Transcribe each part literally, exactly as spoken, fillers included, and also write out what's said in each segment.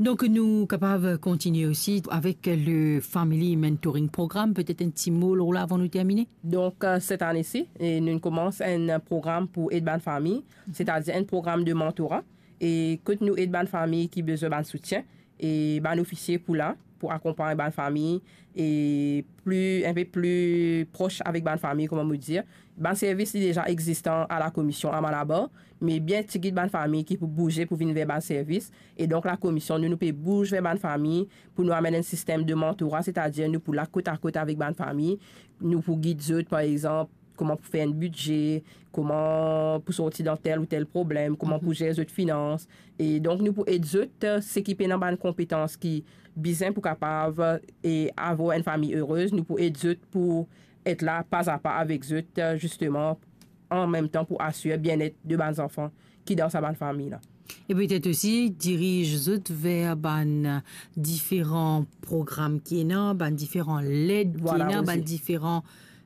Donk, nou kapav kontinie osi avek le Family Mentoring Program. Petet enn ti mo lor la avan nou termine? Donk, eh, set ane si, e nou koumans enn program pou ed bann fami, setadir enn program de mentorat, e kot nou ed bann fami ki bizin bann soutien, e bann ofisie pou la, pou akonpagn bann fami, e pli, enn pe pli pros avek bann fami, kouma mo dir. Bann servis li deza existe a la komision a Malabar, me bien tigit bann fami ki pou bouze pou vinn ver bann servis. E donk, la komision, nou, nou pe bouz ver bann fami pou nou amenn enn sistem de mentorat, setadir nou pou la kot a kot avek bann fami, nou pou gid zot, par exanp, kouma pou fer enn bidze, kouma pou sorti dan tel ou tel problem, kouma pou zer zot finans. E donk, nou pou ed zot, eh, seki pena bann konpetans ki bizin pou kapav, eh, avoir enn fami erez, nou pou ed zot pou et la pa a pa avek zot, eh, zisteman, an mem tan pou asir bienet de bann zanfan ki dan sa bann fami la. E petet osi diriz zot ver bann, eh, diferan program ki ena, bann diferan led ki ena, bann diferan,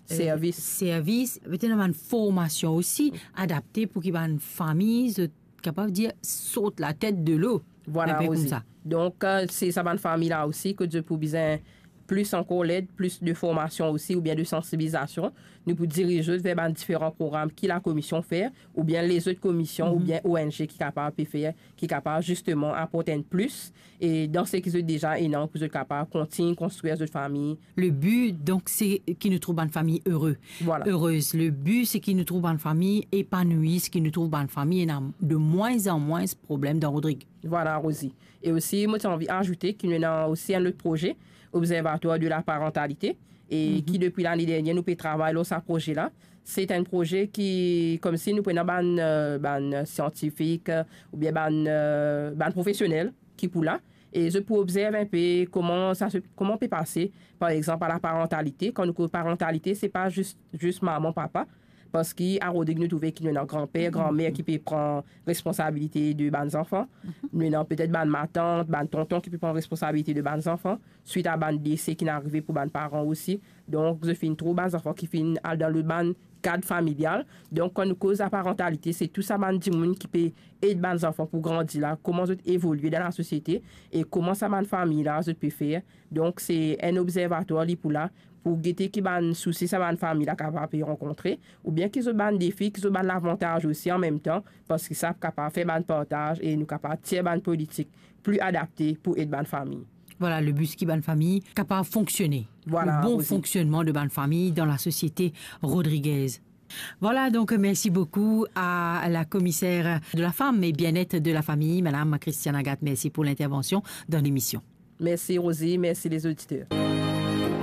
eh, servis. Servis. Petet ena bann formasion osi adapte pou ki bann fami, zot kapav dir, sort latet delo. Vwala, enn pe Rosie. Koumsa. Donk, eh, se sa bann fami la osi, kot zot pou bizin plis ankor led, plis de formasion osi, oubien de sansibilizasion. Nou pou diriz zot ver bann diferan program ki la komision fer, oubien lezot komision, oubien O N G ki kapav pe fer, ki kapav zisteman aport enn plis, e dan seki zot deza ena, pou zot kapav kontign konstrir zot fami. Le bi, donk, se ki nou trouv bann fami ere. Vwala. Erez. Le bi, se ki nou trouv bann fami epanouis, ki nou trouv bann fami ena de mwins an mwins problem dan Rodrig. Vwala, Rosie. E osi, mo ti anvi azoute ki nou ena osi enn lot proze, Observatoire de la Parentalité, e ki depi lane dernie, nou pe travay lor sa proze la. Se enn proze ki, koumsi nou pou ena bann, eh, bann siantifik, eh, oubien bann, eh, bann profesionel ki pou la, e zot pou observ enn pe kouma sa se, kouma pe pase, par exanp, a la parantalite. Kan nou koz parantalite, se pa zis, zis mama, papa, parski a Rodrig nou trouve ki nou ena granper, granmer ki pe pran responsabilite de bann zanfan. Nou ena petet bann matant, bann tonton ki pe pran responsabilite de bann zanfan, swit a bann dese ki'nn arive pou bann paran osi. Donk, zot finn trouv bann zanfan ki finn al dan lot bann kad familial. Donk, kan nou koz laparantalite, se tou sa bann dimoun ki pe ed bann zanfan pou grandi la, kouma zot evolie dan lasosiete, e kouma sa bann fami la, zot pe fer. Donk, se enn observatwar li pou la, pou gete ki bann sousi sa bann fami la kapav pe rankontre, oubien ki zot bann defi, ki zot bann lavantaz osi an mem tan, parski sa kapav fer bann partaz e nou kapav tir bann politik pli adapte pou ed bann fami. Vwala, le bi se ki bann fami kapav fonksione. Vwala, le bon fonksionnman de bann fami dan lasosiete rodrigez. Voilà, donc merci beaucoup à la commissaire de la femme et bien-être de la famille, Madame Christiane Agathe. Merci pour l'intervention dans l'émission. Mersi, Rosie. Mersi, lezoditer.